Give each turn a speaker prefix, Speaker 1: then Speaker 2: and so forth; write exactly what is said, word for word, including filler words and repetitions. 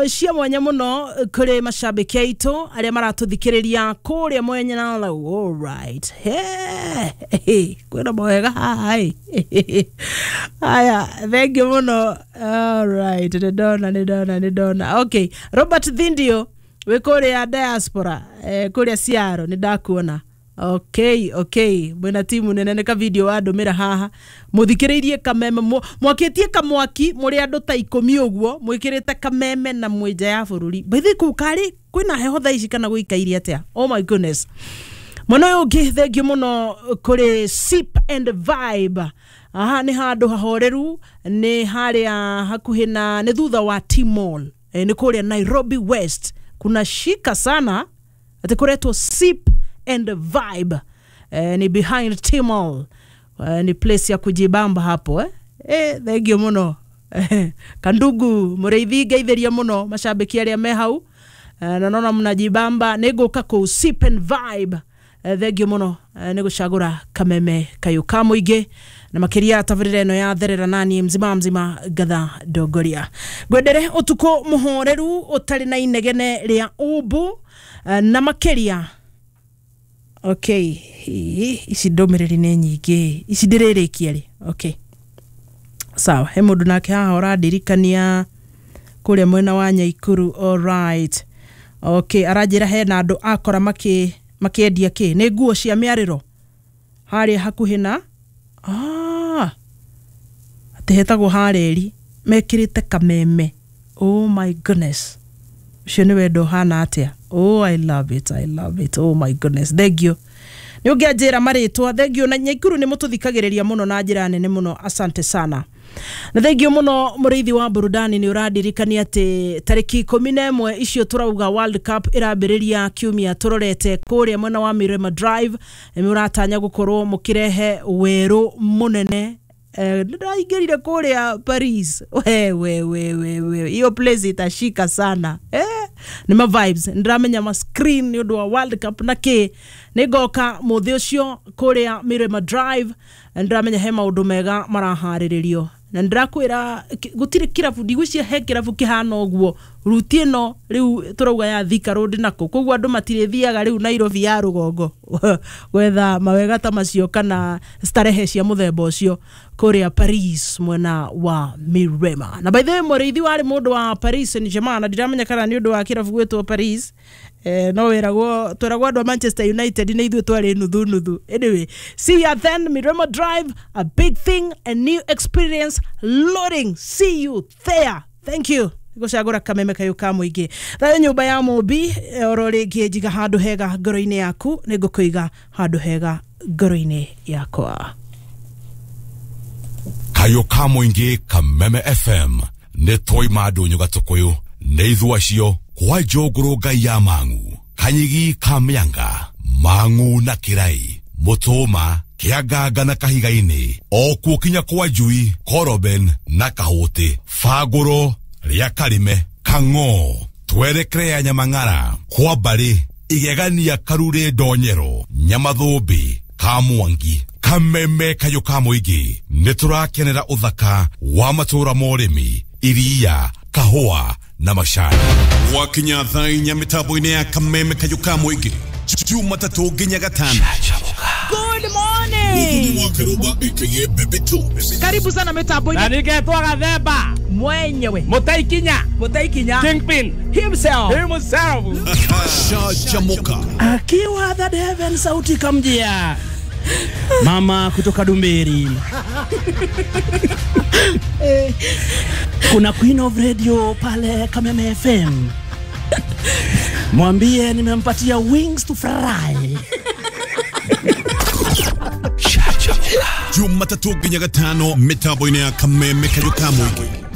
Speaker 1: cia mwanya muno kuri mashabiki aitu aria maratuthikiriria kuria mwenya na all right. Hey, kwina mwega hai. Aya, thank you muno. All right, ni ndona ni ndona ni ndona. Okay, Robert Thindio wi kuria diaspora, eh, kuria Ciaro ni ndakuona. Okay, okay. Mwena timu nene nĩ ka video wandũmĩra haha. Mũthikĩrĩirie kameme mwakitie kamwaki mũrĩ andũ ta ikũmi ũguo mwĩkĩrĩte kameme na mwĩ nja ya bũrũri. By the way kũu karĩ kwĩna heho thaa ici kana gũikaire atĩa? Oh my goodness. Mwena ũyũ ũngĩ thengiũ mũno kũrĩ Sip and Vibe. Aha, nĩ handũ hahoreru, nĩ harĩa hakuhĩ na nĩ thutha wa T-Mall. E, nĩ kũrĩa Nairobi West. Kuna shika sana atĩ kũretwo Sip and Vibe. Eh, ni behind T-Mall. Eh, ni place ya kujibamba hapo eh. Eh, thank you muno. Kandugu mureithi ngeithiria muno mashabiki aria me hau. Eh, na nona mnajibamba nĩngũka kũu Sip and Vibe. Eh, thank you muno eh, nĩ gũcagũra kameme kayo ka mũingĩ na makiria tabarĩra ĩno ya therera nani mzima mzima ngatha ndongoria. Ngwendere ũtukũ mũhoreru ũtarĩ na inegene rĩa ũmbu eh, na makiria. Okay, ici ndũmĩrĩri nĩ nyingĩ, ici ndĩrĩrĩkia rĩ. Okay, sawa, he mũndũ nake haha ũrandirikania kũrĩa mwena wa Nyaikuru. All right. Okay, aranjĩra hena andũ akora makĩ makĩendia kĩ nĩ nguo cia mĩarĩro harĩa hakuhĩ na ah atĩ hetagwo hareri mekĩrĩte kameme. Oh my goodness, ũcio nĩ wendo ũhana atĩa? Oh, I love it, I love it. Oh my goodness, thank you. Nĩ ũngĩanjĩra marĩtwa, thank you. Na Nyaikuru nĩ mũtũthikagĩrĩria mũno na njĩra nene mũno, asante sana. Na thank you mũno mũrĩithi wa burudani, nĩ ũrandirikania atĩ tarĩki ikũmi na ĩmwe icio tũrauga World Cup ĩrambĩrĩria kiumia tũrorete kũrĩa mwena wa Mirema Drive. Nĩ ũratanya gũkorwo mũkĩrehe werũ mũnene. Eh, ndaingĩrire kũrĩa Paris. We we we we we, hiyo place itashika sana. Eh, nĩ ma vibes ndĩramenya ma screen nĩ ũndũ wa World Cup na kĩ nĩ ngoka mũthĩ ũcio kũrĩa Mirema Drive. Ndĩramenya he maũndũ mega maraharĩrĩrio na ndĩrakwĩra gũtirĩ kĩrabu, ndigwĩciria he kĩrabu kĩhana ũguo ruti ĩno rĩu tũrauga ya Thika Road nako, koguo andũ matirĩthiaga rĩu Nairobi ya rũgongo gwetha mawega ta macio kana starehe cia mũthemba ũcio kũrĩa Paris mwena wa Mirema. Na by the way mũrĩithi warĩ mũndũ wa Paris Saint-Germain, na ndiramenya kana nĩ ũndũ wa kĩrabu gwĩtwo Paris. Eh, no wĩragwo twĩragwo andũ a Manchester United nĩ ithuĩ twarĩ nuthu nuthu. Anyway, see you then, Mirema Drive, a big thing, a new experience loading. See you there. Thank you. Gũcagũra kameme kayo ka mũingĩ. Thayũ nyũmba ya Mũmbi, oro rĩngĩ njiga handũ hega ngoro-inĩ yaku, nĩ ngũkũiga handũ hega ngoro-inĩ yakwa.
Speaker 2: Kayo ka mũingĩ Kameme F M nĩ twaima ndũnyũ gatũkũyũ nĩ ithuĩ acio kwa njũngũrũ ngai ya mang'u kanyigi ka mĩanga mang'u na kĩrai mũtũma kĩanganga na kahiga-inĩ o kuo kinya kwa njui koroben na kahũtĩ bangũro rĩa karime kang'o twerekere ya nyamang'ara kwa mbarĩ igegania karure ndonyero nyamathũmbĩ ka mwangi kameme kayo ka mũingĩ nĩ tũrakenera ũthaka wa matũra ma ũrĩmi iria kahũa na macani.
Speaker 3: Wakinya thaa inya mĩtambo-inĩ ya kameme kayo ka mũingĩ Jumatatũ nginya gatano.
Speaker 4: Good morning. Karibu sana mitambo-inĩ.
Speaker 5: Na ningetwo Gathemba
Speaker 4: mwenyewe
Speaker 5: Mutaikinya
Speaker 4: Mutaikinya
Speaker 5: Kingpin
Speaker 4: himself
Speaker 5: himself
Speaker 3: Shajamoka
Speaker 5: akiwa that heaven sauti kamjia mama kutoka Dumberi. Kuna Queen of Radio pale Kameme F M. Mwambie nimempatia wings to fry.
Speaker 3: Jumatatu nginya gatano mitambo-inĩ ya Kameme kayo ka mũingĩ.